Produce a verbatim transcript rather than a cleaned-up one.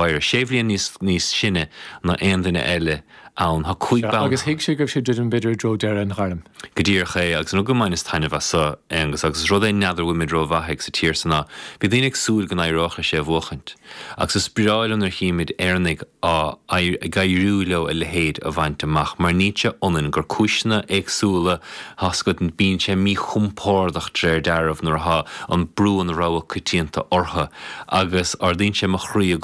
Maguire. Sé bhliain níos níos sine ná aon duine eile ann. Tá cúig bonn. Agus thuig sé go raibh sé druidim b'fhéidir i dtreo deireadh an ghairm. Go díreach é agus an rud go mbaineas taitneamh as seo Aonghus agus rud é n'fheadar bhfuilimid rómhaith ag sa tír san ná bhí daoine ag súil go n-éireodh leis é a bhuachaint. Agus is breá liom nuair a chímid Éireannaigh á ag éiriú leo a leithéid a bhaint amach mar níl sé ionann gur cúiseanna éagsúla atá agat bíonn sé míchompordach de réir dealraimh nuair atá an brú an rogha coitianta orthu agus ardaíonn sé mo chroí i